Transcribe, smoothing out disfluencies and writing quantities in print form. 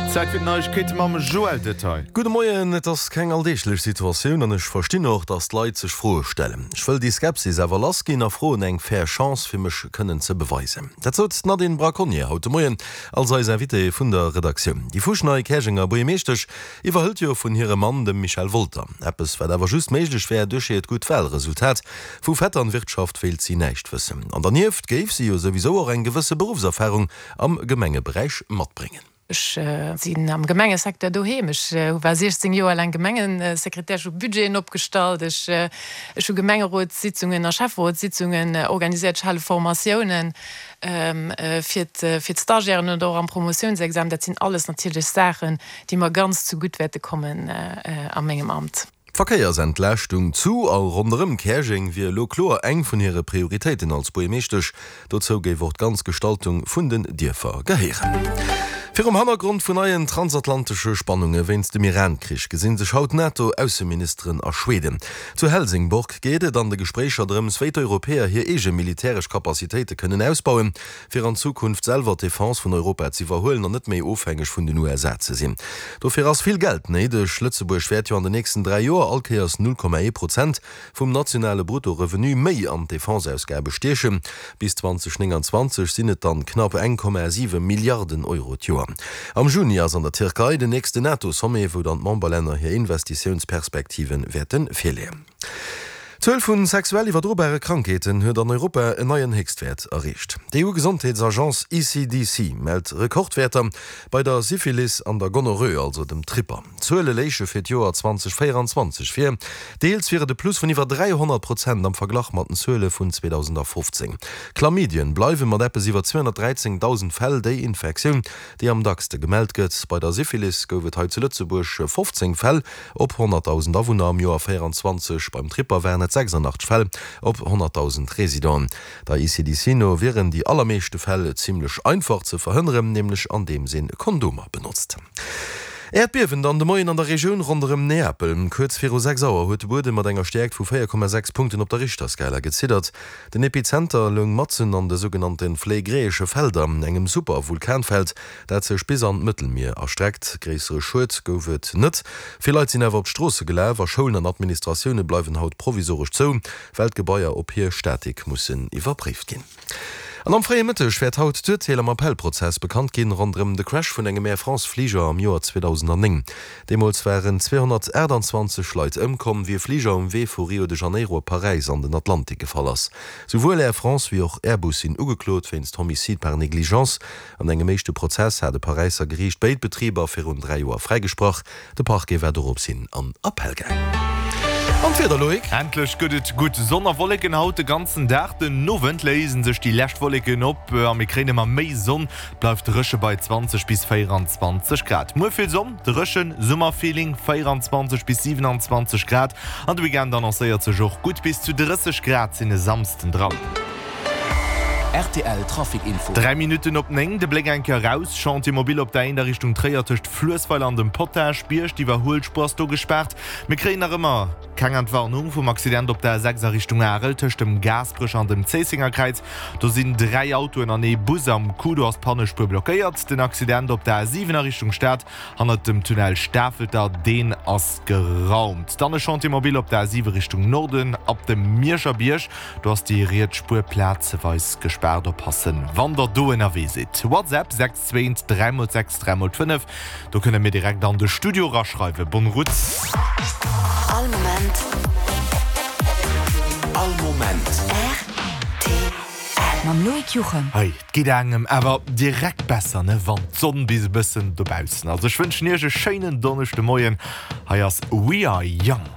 Zäit fir d'Neiegkeete mam Joël Detail. Gudde Moien, Et ass keng alldeeglech Situatioun an ech verstinn och, datt d'Leit sech Froe stellen. Ech wëll déi Skepsis awer lass ginn a froen eng fair Chance, fir mech kënnen ze beweisen. Dat sot d'Nadine Braconnier haut de Moien als eis Invitée vun der Redaktioun. Déi fuschnei Käerjenger Buergermeeschtesch iwwerhëlt jo vun hirem Mann, dem Michel Wolter. Eppes, wat awer just méiglech wär duerch hiert gutt Walresultat. Vu Vetternwirtschaft wéilt si näischt wëssen. An dernieft géif si jo souwisou och eng gewësse Beruffserfarung am Gemengeberäich matbréngen. Ech sinn am Gemengesecteur doheem. Ech war 16 Joer laang Gemengesekretär. Ech hu Budgeten opgestallt. Ech hu Gemengerotssitzungen a Schäfferotssitzungen organiséiert. Ech hale Formatiounen fir d'Stagiairen oder och am Promotiounsexamen. Dat sinn alles natierlech Saachen, déi mer ganz zegutt wäerte kommen a mengem Amt. D'Verkéiersentlaaschtung zu a ronderëm Käerjeng wier elo kloer eng vun hire Prioritéiten als Buergermeeschtesch. Dozou géif och d'ganz Gestaltung vun den Dierfer gehéieren. Virum Hannergrond vun neien transatlantesche Spannunge wéinst dem Iran-Krich gesinn sech haut d'NATO-Ausseministeren a Schweden. Zu Helsingborg geet et an de Gespréicher drëms, wéi d'Europäer hir eege militäresch Capacitéite kënnen ausbauen, fir an Zukunft selwer d'Defense vun Europa z'iwwerhuelen an net méi ofhängeg vun den USA ze sinn. Dofir ass vill Geld néideg. Lëtzebuerg wäert jo an den nächsten 3 Joer all Kéiers 0,1 Prozent vum nationale Brutto-Revenu méi an d'Defense-Ausgabe stiechen. Bis 2029 sinn et dann knapp 1,7 Milliarden Euro d'Joer. Am Juni ass an der Tierkei den nächsten NATO-Sommet, wou dann d'Memberlänner hir Investitiounsperspektive wäerte virleeën. D'Zuel vu sexuell iwwerdrobare Krankheeten huet an Europa en neien Héchstwäert erreecht. D'EU-Gesondheetsagence ECDC mellt Rekordwäerter bei der Syphilis an der Gonorrhoe, also dem Tripper. D'Zuele léiche fir d'Joer 2024 vir. Deels wier et e Plus vun iwwer 300 Prozent am Verglach mat den Zuele vun 2015. Chlamydien bleiwe mat eppes iwwer 213.000 Fäll déi Infektioun, déi am dackste gemellt gëtt. Bei der Syphilis gouf et hei zu Lëtzebuerg 15 Fäll Op 100.000 Awunner am Joer 24, beim Tripper waren et 86 Fäll op 100.000 Residenten. Der ECDC no wieren déi allermeeschte Fäll zimmlech einfach ze verhënneren, nämlech andeems een Kondomer benotzt. Äerdbiewen dann de Moien an der Regioun ronderëm Neapel. Kuerz viru 6 Auer huet de Buedem mat enger Stäerkt vu 4,6 Punkten op der Richterskala geziddert. Den Epizenter loung matzen an de sougenannte Phlegräesche Felder, engem Supervulkanfeld, dat sech bis an d'Mëttelmier erstreckt. Gréissere Schued gouf et net. Vill Leit sinn awer op d'Stroosse gelaf a Schoulen an Administratioune bleiwen haut provisoresch zou, well d'Gebaier op hir Statik mussen iwwerpréift ginn. An am fréie Mëtteg wäert haut d'Urteel am Appellprozess bekannt ginn, ronderëm de Crash vun engem Air France Fliger am Joer 2009. Deemools waren 228 Leit ëmkomm, wéi e Fliger um Wee vu Rio de Janeiro op Paräis an den Atlantik gefall ass. Souwuel Air France wéi och Airbus sinn ugeklot wéinst Homicide par négligence. An engem éischte Prozess hat e Paräisser Geriicht béid Betriber virun 3 Joer fräigesprach. De Parquet war dorops hin an Appell gaang. An d'Wieder, Loïc? Endlech gëtt et gutt Sonn a Wolleken haut de ganzen Dag. Den Owend léisen sech déi lescht Wolleken op a mir kréien ëmmer méi Sonn. Et bleift dréche bei 20 bis 24 Grad. Muer vill Sonn, dréchen, Summerfeeling, 24 bis 27 Grad. An de Weekend annoncéiert sech och gutt, bis zu 30 Grad sinn e Samsden dran. Rtl Trafic Info. 3 Minutten op 9, de Bléck eng Kéier eraus, Chantier mobile op der 1 a Richtung Tréier tëscht Fluessweiler an dem Potaschbierg. D'Iwwerhuelspuer ass do gespaart. Mir kréien nach ëmmer keng Entwarnung vum Accident op der A6 a Richtung Arel tëscht dem Gaasperech an dem Zéissengerkräiz. Do sinn 3 Autoen an ee Bus am Coup, do ass d'Pannespuer blockéiert. Den Accident op der A7 a Richtung Stad Hannert dem Tunnel Stafelter, deen ass geraumt. Dann e Chantier mobile op der A7 Richtung Norden, ab dem Mierscher Bierg. Do ass déi riets Spuer plazeweis gespaart. Oppassen, wann der do ënnerwee sidd. WhatsApp 6 2 3 x 6 3 x 5. Do kënne mir direkt an de Studio eraschreiwen. Bonne route. All Moment. All Moment. Rtl. Mam Loïc Juchem. Hei, 't geet engem awer direkt besser, ne, wann d'Sonn bis e bëssen dobaussen ass. Ech wënschen iech e schéinen Donneschdemoien. Hei ass We Are Young.